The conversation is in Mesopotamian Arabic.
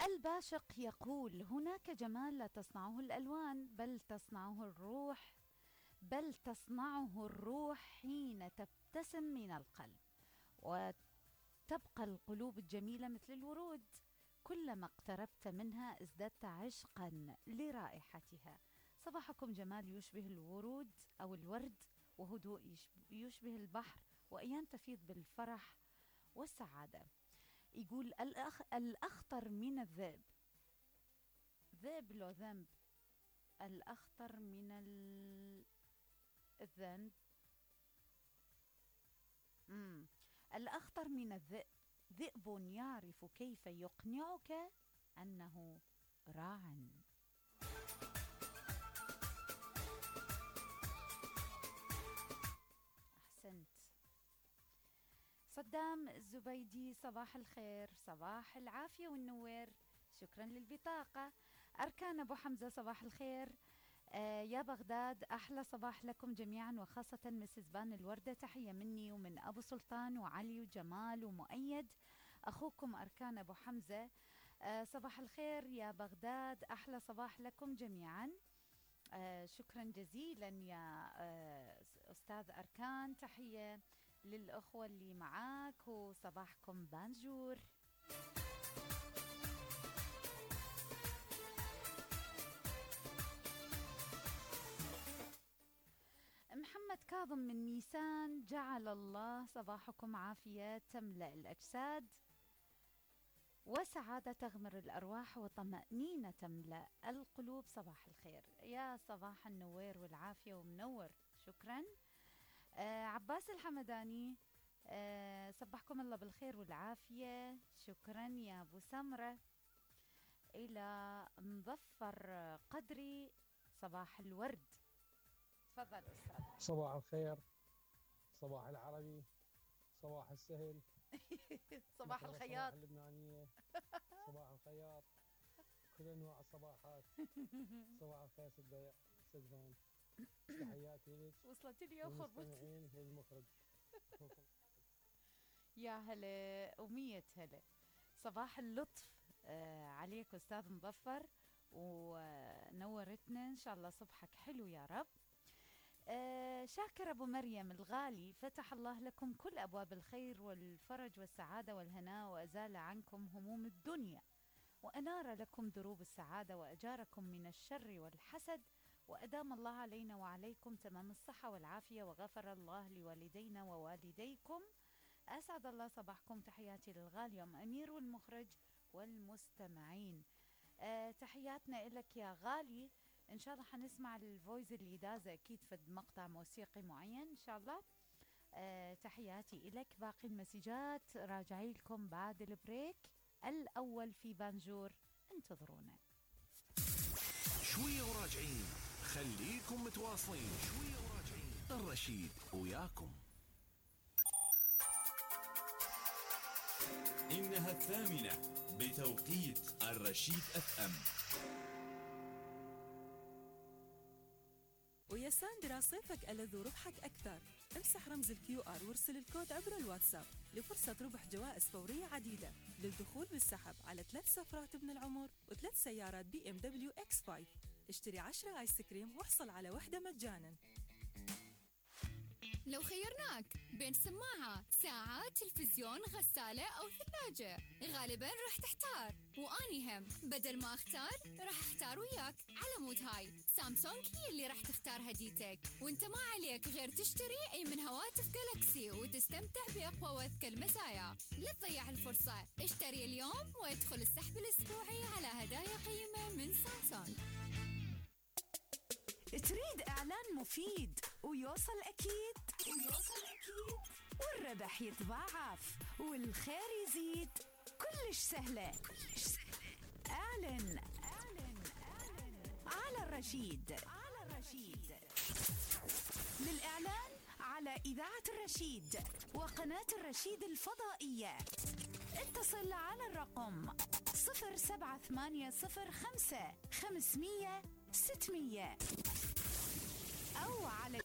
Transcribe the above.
الباشق يقول: هناك جمال لا تصنعه الألوان بل تصنعه الروح حين تبتسم من القلب، وتبقى القلوب الجميلة مثل الورود، كلما اقتربت منها ازددت عشقا لرائحتها. صباحكم جمال يشبه الورود أو الورد، وهدوء يشبه البحر، وأيام تفيض بالفرح والسعادة. يقول الأخطر من الذئب، ذئب لو ذنب، الأخطر من الذنب الأخطر من الذئب ذئب يعرف كيف يقنعك أنه راع. أحسنت. صدام الزبيدي: صباح الخير، صباح العافية والنوير، شكرا للبطاقة. أركان أبو حمزة: صباح الخير يا بغداد، أحلى صباح لكم جميعا، وخاصة مسز بان الوردة، تحية مني ومن أبو سلطان وعلي وجمال ومؤيد، أخوكم أركان أبو حمزة. صباح الخير يا بغداد، أحلى صباح لكم جميعا. شكرا جزيلا يا أستاذ أركان، تحية للأخوة اللي معاك، وصباحكم بانجور. محمد كاظم من ميسان: جعل الله صباحكم عافية تملأ الأجساد، وسعادة تغمر الأرواح، وطمأنينة تملأ القلوب. صباح الخير، يا صباح النوير والعافية ومنور، شكرا. عباس الحمداني: صبحكم الله بالخير والعافية، شكرا يا أبو سمرة. إلى مظفر قدري: صباح الورد. تفضل أستاذ. صباح الخير، صباح العربي، صباح السهل، صباح الخياط، صباح اللبنانية، صباح الخياط، كل أنواع الصباحات. صباح الخير سدفان، تحياتي لك وصلت لي أخر مستمعين للمخرج. يا هلا ومية هلا. صباح اللطف عليك أستاذ مظفر، ونورتنا، إن شاء الله صبحك حلو يا رب. شاكر أبو مريم الغالي: فتح الله لكم كل أبواب الخير والفرج والسعادة والهناء، وأزال عنكم هموم الدنيا، وأنار لكم دروب السعادة، وأجاركم من الشر والحسد، وأدام الله علينا وعليكم تمام الصحة والعافية، وغفر الله لوالدينا ووالديكم. أسعد الله صباحكم. تحياتي للغالي أم أمير والمخرج والمستمعين. تحياتنا إلك يا غالي. إن شاء الله حنسمع الفويس اللي دازة أكيد في مقطع موسيقي معين إن شاء الله. تحياتي إلك. باقي المسجات راجعي لكم بعد البريك الأول في بانجور، انتظرونا شوية وراجعين، خليكم متواصلين، شوية وراجعين، الرشيد وياكم. إنها 8 بتوقيت الرشيد FM. ويا ساندرا، صيفك ألذ وربحك أكثر. امسح رمز الQR وارسل الكود عبر الواتساب لفرصة ربح جوائز فورية عديدة للدخول بالسحب على 3 سفرات ابن العمر و3 سيارات BMW X5. اشتري 10 آيس كريم واحصل على واحدة مجانا. لو خيرناك بين سماعة، ساعة، تلفزيون، غسالة أو ثلاجة، غالباً راح تحتار، وأني هم بدل ما أختار راح أختار وياك. على مود هاي سامسونج هي اللي راح تختار هديتك، وانت ما عليك غير تشتري أي من هواتف جالاكسي وتستمتع بأقوى وأذكى المزايا. لا تضيع الفرصة، اشتري اليوم وادخل السحب الأسبوعي على هدايا قيمة من سامسونج. تريد إعلان مفيد ويوصل أكيد والربح يتضاعف والخير يزيد؟ كلش سهلة. اعلن على الرشيد. للإعلان على إذاعة الرشيد وقناة الرشيد الفضائية اتصل على الرقم 07805 500 600 أو على